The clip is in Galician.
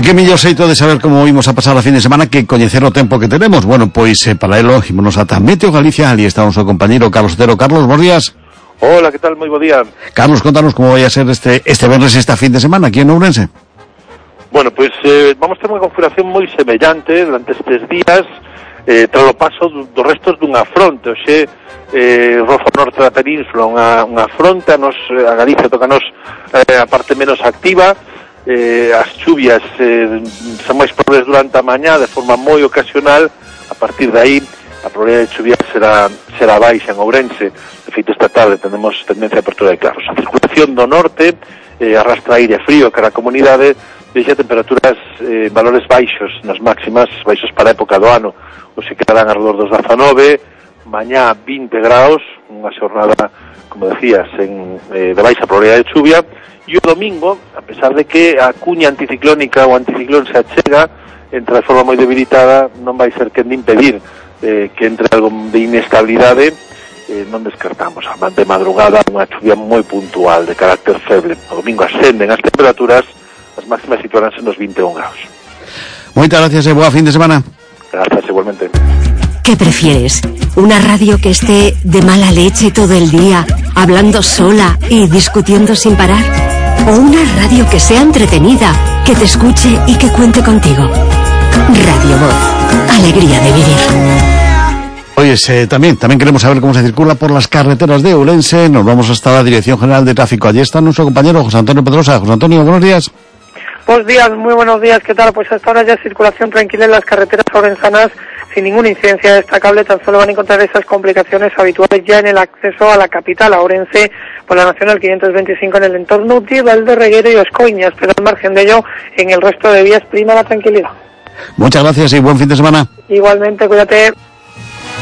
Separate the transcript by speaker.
Speaker 1: que mellor xeito de saber como imos a pasar a fin de semana que coñecer o tempo que tenemos. Bueno, pois para elo ímonos ata Meteo Galicia. Ali está o noso compañeiro Carlos Otero. Carlos, bons días.
Speaker 2: Hola, que tal? Moi bo día.
Speaker 1: Carlos, contanos como vai a ser este venres esta fin de semana aquí en Ourense.
Speaker 2: Bueno, pois vamos ter unha configuración moi semellante durante estes días, tras o paso dos restos dunha fronte. Oxe, roza o norte da península unha fronte, a Galicia tocanos a parte menos activa. As chuvias son máis probables durante a mañá de forma moi ocasional. A partir de aí a probabilidade de chuvia será baixa en Ourense. De feito, esta tarde tenemos tendencia a apertura de claros. A circulación do norte arrastra aire frío cara a comunidade, deixa temperaturas valores baixos nas máximas, baixos para a época do ano. Os se quedarán alrededor dos 19, mañá 20 graus, unha xornada, como decías, de baixa probabilidade de chuvia. E o domingo, a pesar de que a cuña anticiclónica ou anticiclón se achega, entra de forma moi debilitada, non vai ser quen de impedir que entre algo de inestabilidade. Non descartamos de madrugada unha chuvia moi puntual de carácter feble. O domingo ascenden as temperaturas, as máximas situaránse nos 21 graus.
Speaker 1: Moitas gracias e boa fin de semana.
Speaker 2: Gracias, igualmente.
Speaker 3: ¿Qué prefieres? ¿Una radio que esté de mala leche todo el día, hablando sola y discutiendo sin parar? ¿O una radio que sea entretenida, que te escuche y que cuente contigo? Radio Voz. Alegría de vivir.
Speaker 1: Oye, también queremos saber cómo se circula por las carreteras de Ourense. Nos vamos hasta la Dirección General de Tráfico. Allí está nuestro compañero José Antonio Pedrosa. José Antonio, buenos días.
Speaker 4: Buenos días, muy buenos días. ¿Qué tal? Pues hasta ahora ya circulación tranquila en las carreteras ourensanas, sin ninguna incidencia destacable. Tan solo van a encontrar esas complicaciones habituales ya en el acceso a la capital, a Ourense, por la Nacional 525 en el entorno de Valderreguero y Oscoiñas, pero al margen de ello, en el resto de vías prima la tranquilidad.
Speaker 1: Muchas gracias y buen fin de semana.
Speaker 4: Igualmente, cuídate.